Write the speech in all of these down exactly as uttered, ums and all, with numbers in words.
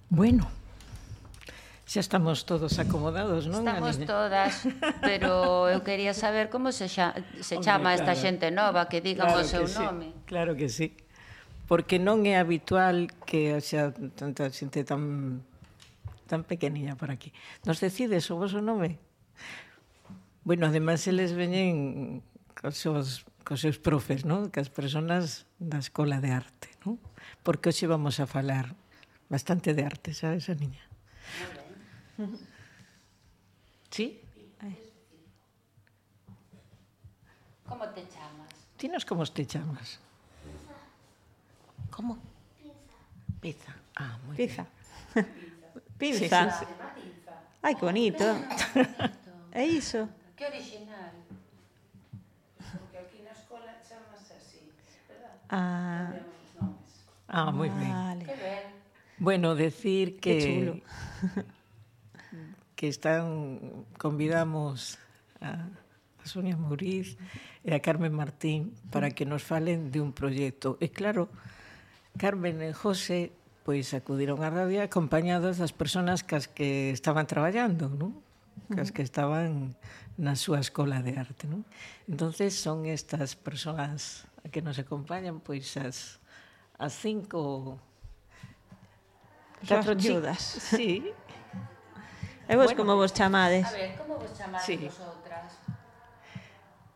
Bueno, xa estamos todos acomodados, non? Estamos todas, pero eu quería saber como se, xa, se chama esta xente nova, que digan o seu nome. Claro que sí, porque non é habitual que xa tanta xente tan tan pequeniña por aquí. Nos decides o vosso nome? Bueno, ademais eles veñen cos seus, cos seus profes, non? Cas personas da Escola de Arte, non? Porque hoxe vamos a falar bastante de arte, sabes, a niña? Sí? Como te chamas? Tinos como te chamas? Como? Pizza. Ah, moi Pizza. Pinza. Pinza. Sí, sí, sí. Ai, que bonito. É iso. Que original. Porque aquí na escola chamas así, verdad? Ah, Cambiamos os nomes. Ah, moi ben. vale. Que ben. Bueno, decir que... Que chulo. que están, convidamos a, a Sonia Mouriz e a Carmen Martín para que nos falen de un proxecto. E claro, Carmen e José pois acudiron á radio acompañados das persoas cas que estaban traballando, non? Cas que estaban na súa escola de arte, non? Entonces son estas persoas que nos acompañan pois as, as cinco... Catro chi- viudas. Sí. E vos Bueno. como vos chamades? A ver, como vos chamades Sí. vosotras?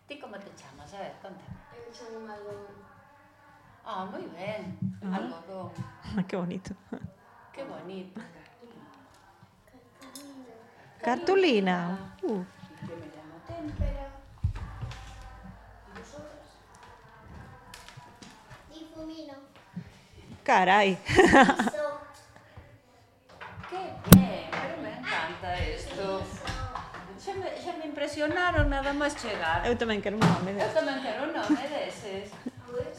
Ti como te chamas? A ver, conta. Eu chamo algodón. Ah, moi ben. Ah. Algodón. Que bonito. Que bonito. Cartulina. Uh, Yo me llamo Témpera. ¿Y vosotras? Difumino. carai. Iso. Que bien, pero me encanta isto. Xa me, xa me impresionaron nada máis chegar. Eu tamén quero un nome. Eu tamén quero un nome deses. Pois,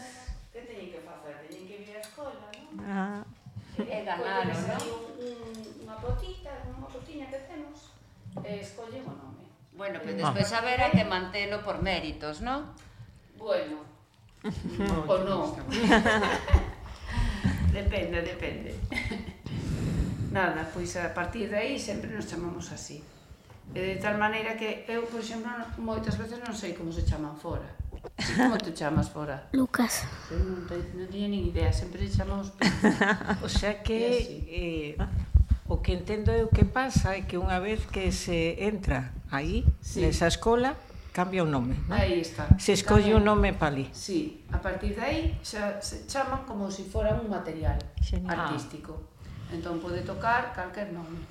que teñen que facer? Teñen que ir á escola, non? Ah, E ganaron, Colles aí non? un, un, unha potita, unha potiña que temos, e escollen o nome. Bueno, pero despois haberá que mantelo por méritos, non? Bueno, o non. Depende, depende. Nada, pois a partir de aí sempre nos chamamos así. E de tal maneira que eu, por exemplo, moitas veces non sei como se chaman fora. Ti como te chamas fora? Lucas. Eu non, te, non teño nin idea, sempre te chamamos O sea E que así. eh, o que entendo eu que pasa é que unha vez que se entra aí, Sí. nesa escola, cambia o nome, non? Aí está. Se escolle un nome para ali. Sí, a partir de aí xa se chaman como se si fora un material Genial. artístico. Entón pode tocar calquer nome.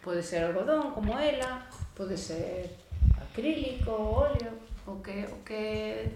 Pode ser algodón, como ela, pode ser acrílico, óleo, o que, o que, o